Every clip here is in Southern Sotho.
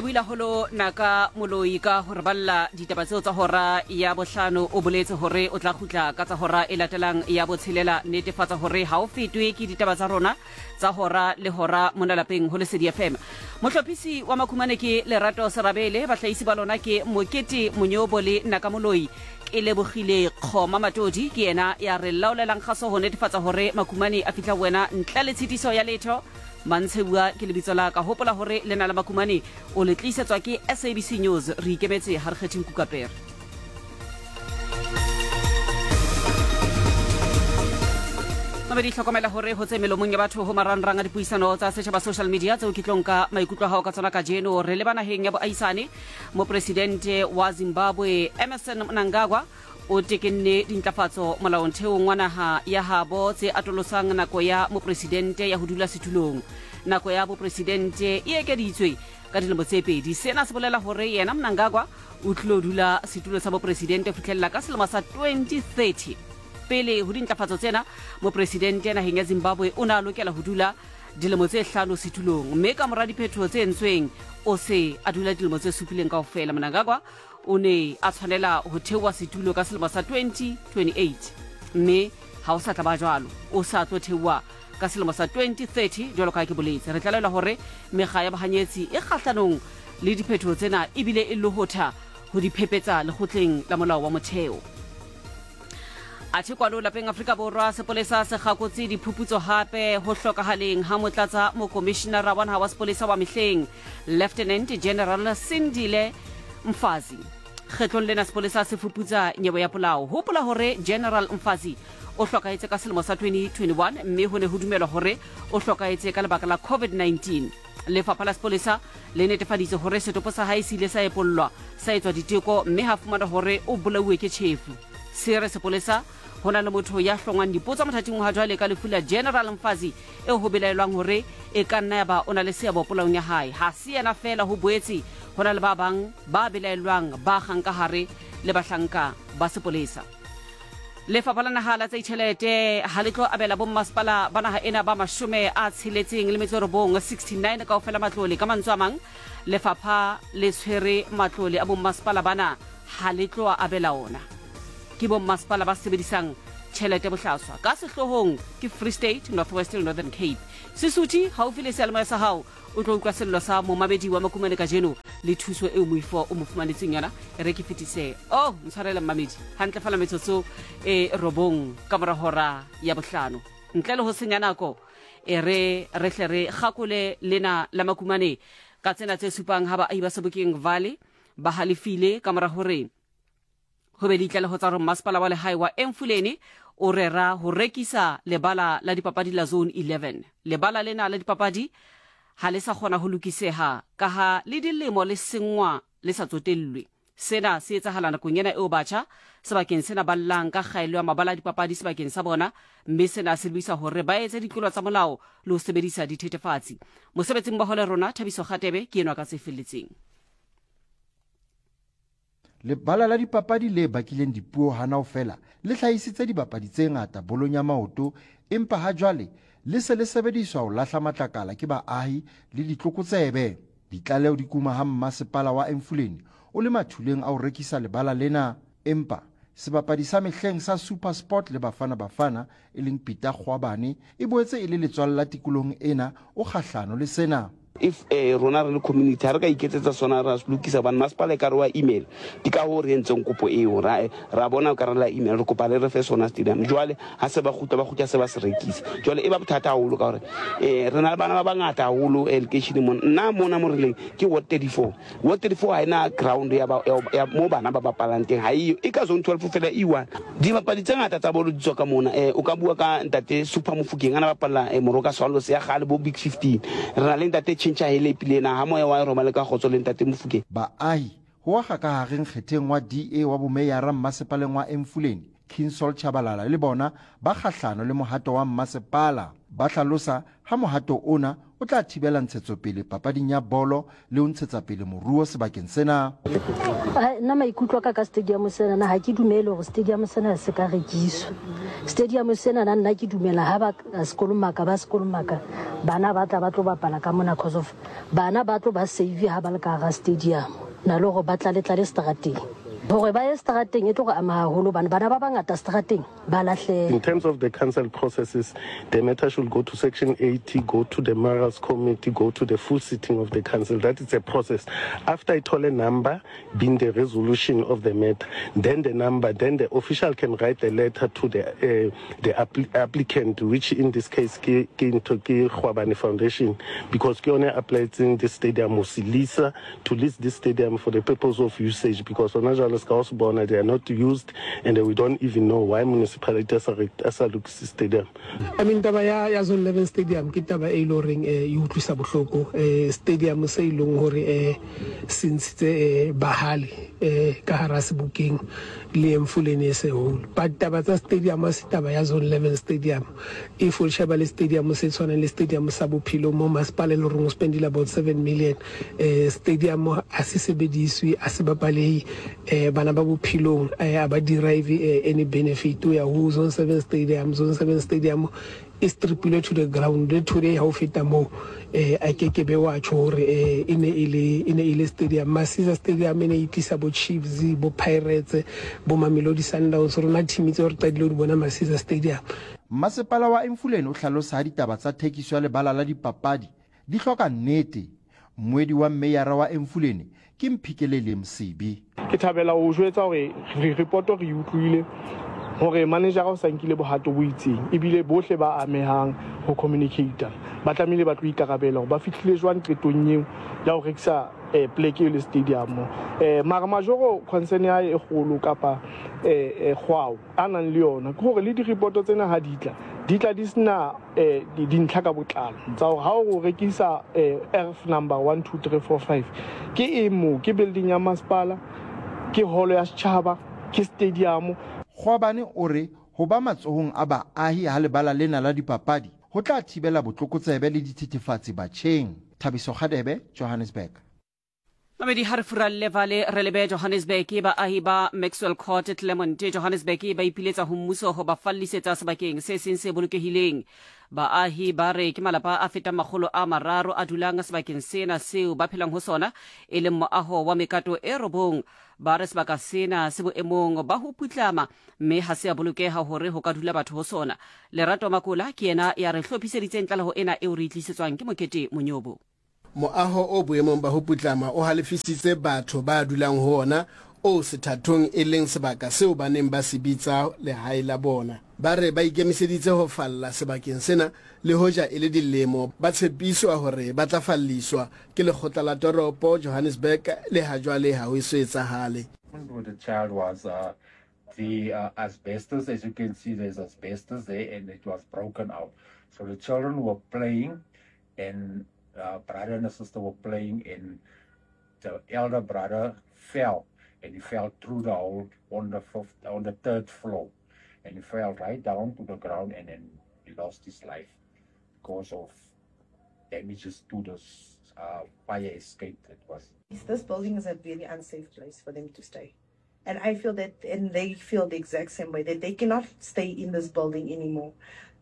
lebohile haholo Naka Moloi ka ho re balla ditaba tseo tsa hora ya bohlano. O boletse hore o tla kgutla ka tsa hora e latelang ya botshelela. Netefatsa hore ha o fetwe ke ditaba tsa rona tsa hora le hora mona lapeng ho Lesedi FM. Mohlophisi wa Makhumane ke Lerato Serabele, bahlahisi ba lona ke Mokete Monyobo le Naka Moloi. Ke lebogile Kgoma Matodi ke yena ya re laolelang kgaso ho netefatsa hore Makhumane a fihla ho wena ntle le tshitiso ya letho. Mantshebua ke lebitso la ka. Hopola hore lena la Makumane o le tliisetswa ke SABC News. Re ikemetse ha re kgethe nku ka pere. Mamedi, hlokomela hore ho tse melomong ya batho ho marangrang a dipuisano tsa setjhaba social media tseo ke tlo nka maikutlo a hao ka tsona kajeno. Re leba naheng ya boahisane. Mopresidente wa Zimbabwe Emmerson Mnangagwa O tekenne dintlafatso molaontheong wa naha ya habo tse atolosang nako ya mopresidente ya ho dula setulong. Nako ya bopresidente e ekeditswe ka dilemo tse pedi. Sena se bolela hore yena Mnangagwa o tlilo dula setulo sa bopresidente ho fihlella ka selemo sa 2030. Pele ho dintlafatso tsena, mopresidente naheng ya Zimbabwe o ne a lokela ho dula dilemo tse hlano setulong, mme ka mora diphetoho tse entsweng o se a dula dilemo tse supileng kaofela. Mnangagwa O ne a tshwanela ho theoha setulo ka selemo sa 2028, mme ha o sa tla ba jwalo. O sa tlo theoha ka selemo sa 2030 jwalo ka ha ke boletse. Re tlalelwa hore mekga ya bohanyetsi e kgahlanong le diphetoho tsena ebile e lohotha ho di phepetsa lekgotleng la molao wa motheo. Athe kwano lapeng Afrika Borwa, sepolesa se kgakotse diphuputso hape ho hlokahaleng ha motlatsa mokomishinara wa naha wa sepolesa wa mehleng Lieutenant General Sindile Mfazi. Kgetlong lena sepolesa se fuputsa nyewe ya polao. Hopola hore General Mfazi o hlokahetse ka selemo sa 2021 mme ho ne ho dumelwa hore o hlokahetse ka lebaka la COVID-19. Lefapha la sepolesa le netefaditse hore setopo sa hae se ile sa epollwa, sa etswa diteko mme ha fumanwa hore o bolauwe ke tjhefu. Se re sepolesa ho na le motho ya hlongwang dipotso mothating wa jwale ka lefu la General Mfazi eo ho belaelwang hore e ka nna ya ba o na le seabo polaong ya hae. Ha se yena feela, ho boetse ho na le ba bang ba belaellwang ba kgang ka hare le bahlanka ba sepolesa. Lefapha la Naha la tsa Ditjhelete ha le tlo abela bommasepala ba naha ena ba 69, 69 kaofela matlole. Ka mantswe a mang, lefapha le tshwere matlole a bommasepala bana ha le tlo a abela ona. Ke bommasepala ba sebedisang tjhelete bohlaswa. Ka sehloohong ke Free State, North West le Northern Cape. Sesuthi haufi le seyalemoya sa hao o tlo utlwa sello sa momamedi wa Makumane kajeno le thuso eo moifo o mo fumanetseng yona. E re ke fetise oh ntshwarele mmamedi hantle fela metsotso e robong ka mora hora ya bohlano. Ntle le ho senya nako, e re re hle re kgakole lena la Makumane ka tsena tse supang ha baahi ba Sebokeng Valley ba halefile ka mora hore Ho be le ditlaleho tsa hore mmasepala wa lehae wa Emfuleni o rera ho rekisa lebala la dipapadi la Zone 11. Lebala lena la dipapadi ha le sa kgona ho lokiseha kaha le dilemo le senngwa le sa tsotellwe. Sena se etsahala nakong ena eo batjha sebakeng sena ba llang ka kgaello ya mabala a dipapadi sebakeng sa bona, mme sena se lebisa hore ba etse ditlolo tsa molao le ho sebedisa dithethefatsi. Mosebetsimmoho le rona Thabiso Kgatebe ke enwa ka tse felletseng. Lebala la dipapadi le bakileng dipuo hanao feela le hlahisitse dibapadi tse ngata bolong ya maoto empa ha jwale le se le sebediswa ho lahla matlakala ke baahi le ditlokotsebe. Ditlaleho di kuma ha mmasepala wa Emfuleni o le mathuleng a ho rekisa lebala lena empa sebapadi sa mehleng sa SuperSport le Bafana Bafana e leng Peter Kgoabane e boetse e le letswalla tikolohong ena o kgahlano le sena. If rona re le community ha re ka iketsetsa sona ra se lokisa hobane masepala e ka re wa email, ke ka hoo re entseng kopo eo, ra ra bona o ka re la email re kopa le re fe sona stadium. Jwale ha se ba kgutla ba kgutla se ba se rekisa, jwale e ba bothata haholo ka hore re na le bana ba bangata haholo lekeisheneng mona. Nna mona mo re leng ke ward 34, Ward 34 ha ena ground ya, ba, ya, ya mo bana ba bapalang teng, ha eyo. E ka zone 12 fela e one. Dibapadi tse ngata tsa bolo di tswa ka mona. O ka bua ka ntate Super Mofokeng a na bapalla Moroka Swallows ya kgale bo Big 15. Re na le ntate Chincha Helepi le ena ha moya wa roma le ka kgotso le ntate Mofokeng. Baahi ho akga ka hare nkgetheng wa DA wa bomeyara mmasepaleng wa Emfuleni, Kingsol Chabalala le bona ba kgahlano le mohato wa mmasepala. Ba hlalosa ha mohato ona o tla thibela ntshetsopele papading ya bolo le ho ntshetsa pele moruo sebakeng sena. Nna maikutlo a ka ka stadium sena na ha ke dumele hore stadium sena se ka rekiswa. Stadium sena na nna ke dumela ha ba sekolomaka ba sekolomaka bana ba tla ba tlo bapala ka mona cause of bana ba tlo ba save ha ba le ka hara stadium na le hore ba tlale tlale strateng. Hore ba ye strateng e tlo re ama haholo hobane bana ba bangata strateng ba lahleha. In terms of the council processes, the matter should go to Section 80, go to the Mayor's Committee, go to the full sitting of the council. That is a process. After I told a number, being the resolution of the matter, then the number, then the official can write a letter to the, uh, the appl applicant, which in this case ke ke ntho ke Gwabane Foundation, because ke yone applying the stadium ho se leasa, to lease this stadium for the purpose of usage, because hona jwale ska o se bona, they are not used and we don't even know why municipality a sa a sa lokise stadium. I mean taba ya ya Zone 11 Stadium ke taba e ile horeng eh, e utlwisa bohloko eh, stadium se e leng hore eh, se ntshitse eh, bahale eh, ka hara sebokeng le Emfuleni e se whole but taba tsa stadium a se taba ya Zone 11 Stadium if o sheba le stadium se tshwanang le stadium sa Bophelo mo masepala e le horeng o spendile about 7 million eh, stadium a se sebediswe a se bapalehe eh, bana ba Bophelong eh, a ba derive eh, any benefit o ya ho Zone 7 Stadium. Zone 7 Stadium e stripilwe to the ground le today ha o feta moo eh, a ke ke be wa tjho hore eh, e ne e le e ne e le stadium. Masisa Stadium e ne e tlisa bo Chiefs, bo Pirates, bo Mamelodi Sundowns, rona team tseo re qadile ho di bona Masisa Stadium. Mmasepala wa Emfuleni o hlalosa ha ditaba tsa thekiso ya lebala la dipapadi di hloka nnete. Mmuedi wa mmeyara wa Emfuleni ke Mphikeleli Msibi. Ke thabela ho o jwetsa hore ripoto re e utlwile hore manejara o sa nkile bohato bo itseng ebile bohle ba amehang ho communicate ba tlamehile ba tlo ikarabela hore ba fihlile jwang qetong eo ya ho rekisa eh, pleke eo le stadium. Eh, mara Majoro concern ya hae e kgolo kapa eh, eh, kgwao a nang le yona ke hore le diripoto tsena ha di tla di tla di sena eh, dintlha ka botlalo tsa hore ha o rekisa eh, erf number 1 2 3 4 5 ke eng moo, ke building ya masepala, ke holo ya setjhaba, ke stadium. Kgwabane o re ho ba matsohong a baahi ha lebala lena la dipapadi ho tla thibela botlokotsebe le dithethefatsi batjheng. Thabiso Kgadebe, Johannesburg. Mamedi ha re furalle vale re lebe Johannesburg. Baahi ba Maxwell Court Clermont Johannesburg ba ipiletsa ho mmuso ho ba fallisetsa sebakeng se seng se bolokehileng. Baahi ba re ke malapa a fetang 300 a dulang sebakeng sena seo ba phelang ho sona, e leng moaho wa mekato e robong. Ba re sebaka sena se boemong ba ho putlama mme ha se a bolokeha hore ho ka dula batho ho sona. Lerato Makola ke yena ya re hlophiseditseng tlaleho ena eo re e tlisetswang ke Mokete Monyobo. Moaho o boemong ba ho putlama o halefisitse batho ba dulang ho ona, oo sethathong e leng sebaka seo ba neng ba se bitsa lehae la bona. Ba re ba ikemiseditse ho falla sebakeng sena le hoja e le dilemo ba tshepiswa hore ba tla falliswa ke lekgotla la toropo Johannesburg le ha jwale ha ho eso etsahale. With the child was uh, the uh, asbestos. As you can see, there's asbestos there, and it was broken out. So the children were playing, and uh, brother and sister were playing, and the elder brother fell, and he fell through the hole on the fifth, on the third floor, and he fell right down to the ground, and then he lost his life because of damages to the uh, fire escape that was. This building is a very unsafe place for them to stay. And I feel that, and they feel the exact same way, that they cannot stay in this building anymore.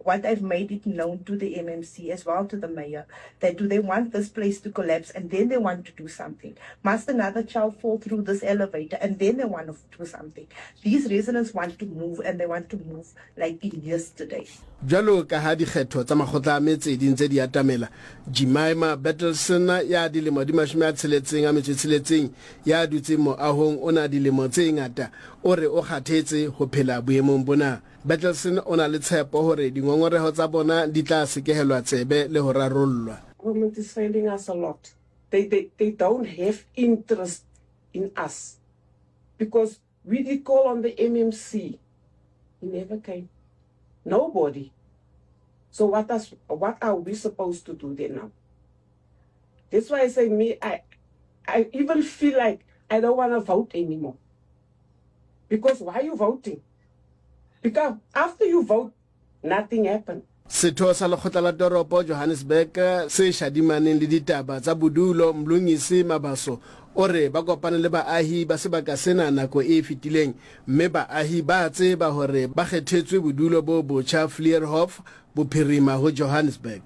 What I've made it known to the MMC as well to the mayor, that do they want this place to collapse and then they want to do something? Must another child fall through this elevator and then they want to do something? These residents want to move, and they want to move like yesterday. Bjalo ka ha dikgetho tsa makgotla a metse di ntse di atamela, Jemima Bertelsen ya dilemo di 66 ya dutseng moahong ona dilemo tse ngata o re o kgathetse ho phela boemong bona. Bertelsen o na le tshepo hore dingongoreho tsa bona di tla sekehelwa tsebe le ho rarollwa. Government is failing us a lot. They, they, they don't have interest in us because we did call on the MMC. He never came. Nobody. So what does what are we supposed to do then now? That's why I say me, I I even feel like I don't want to vote anymore. Because why are you voting? Because after you vote, nothing happened. Setho sa lekgotla la toropo Johannesburg se shadimaneng le ditaba tsa bodulo Mlungisi Mabaso o re ba kopane le baahi ba sebaka sena nako e fetileng mme baahi ba tseba hore ba kgethetswe bodulo bo botjha Fleurhof bophirima ho Johannesburg.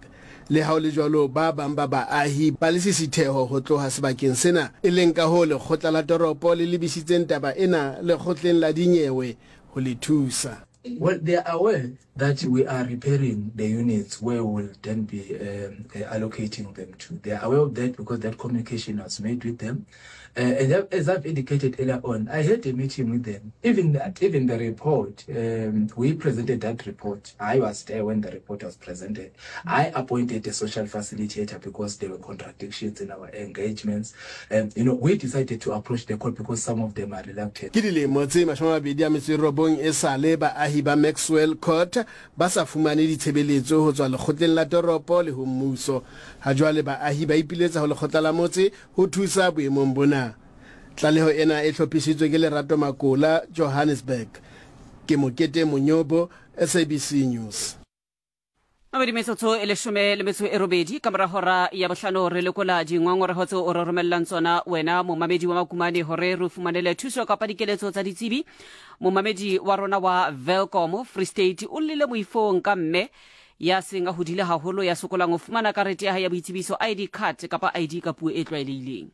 Le ha ho le jwalo ba bang ba baahi ba lesisitheho ho tloha sebakeng sena e leng ka hoo lekgotla la toropo le lebisitseng taba ena lekgotleng la dinyewe ho le thusa. Well, they are aware that we are repairing the units where we will then be um, uh, allocating them to. They are aware of that because that communication was made with them. Uh, and as I've indicated earlier on, I had a meeting with them. Even that, even the report, um, we presented that report. I was there when the report was presented. I appointed a social facilitator because there were contradictions in our engagements. And, you know, we decided to approach the court because some of them are reluctant. Ke dilemo tse 29 esale baahi ba Maxwell Court ba sa fumane ditshebeletso ho tswa lekgotleng la toropo le ho mmuso. Hajwale baahi ba ipiletsa ho lekgotla la motse ho thusa boemong bona. Tlaleho ena e hlophisitswe ke Lerato Makola, Johannesburg. Ke Mokete Monyobo, SABC News. Mabedi metsotso e leshome le metso e robedi ka mora hora ya bohlano re lekola dingongorego tseo o re romellang tsona wena momamedi wa makumane hore re fumanele thuso kapa dikeletso tsa ditsebi. Momamedi wa rona wa Welkom Free State o llile moifong ka mme ya seng a hodile haholo ya sokolang ho fumana karete ya hae ya boitsebiso ID card kapa ID ka puo e tlwaelehileng.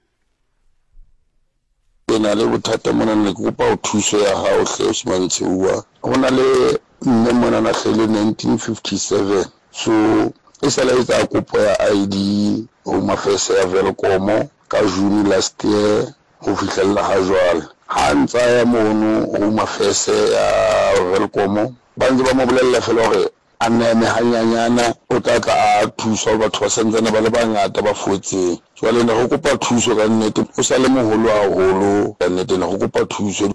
Ke na le bothata mona ne ke kopa thuso ya hao hle Osman Tsheua. Ho na le mme mona na hlahile 1957 so e sale a etsa kopo ya ID Home Affairs ya Welkom ka June last year ho fihlella ha jwale. Ha a ntsa ya mono Home Affairs ya Welkom ba ntse ba mo bolella fela hore A neme hanyanyana, o tla tla a thuswa, batho ba santsane ba le bangata ba fotseng. Jwale ne re kopa thuso ka nnete, o sa le moholo haholo ka nnete, ne re kopa thuso.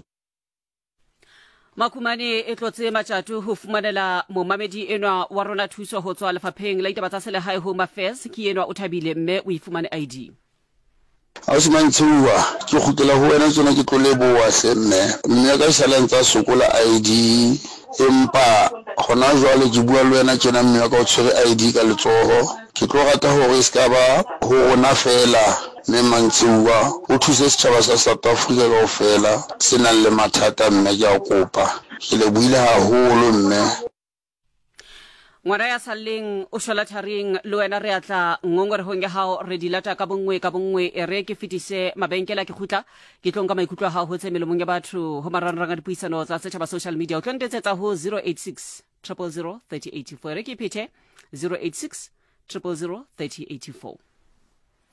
Makumane e tlotse matjato ho fumanela momamedi enwa wa rona thuso ho tswa lefapheng la ditaba tsa selehae Home Affairs. Ke enwa o thabile mme o e fumane ID. Ausi Mantsheuwa, ke kgutlela ho wena tjena ke tlo leboha hle mme. Mme ya ka esale a ntse a sokola ID empa hona jwale ke bua le wena tjena mme wa ka o tshwere ID ka letsoho. Ke tlo rata hore e ska ba ho rona feela mme Mantsheuwa, o thuse setjhaba sa South Africa kaofela se nang le mathata mme ke a kopa. Ke lebohile haholo mme. Ngwana ya salleng o shwela tharing le wena re atla ngongoregong ya gago re di lata ka bonngwe ka bonngwe e re ke fetise mabenkele a ke kgutla ke tlo nka maikutlo a gago go tse melomong ya batho go marangrang a dipuisano tsa setšhaba social media o tlo ntetsetsa go 086 000 3084 e re ke phethe 086 000 3084.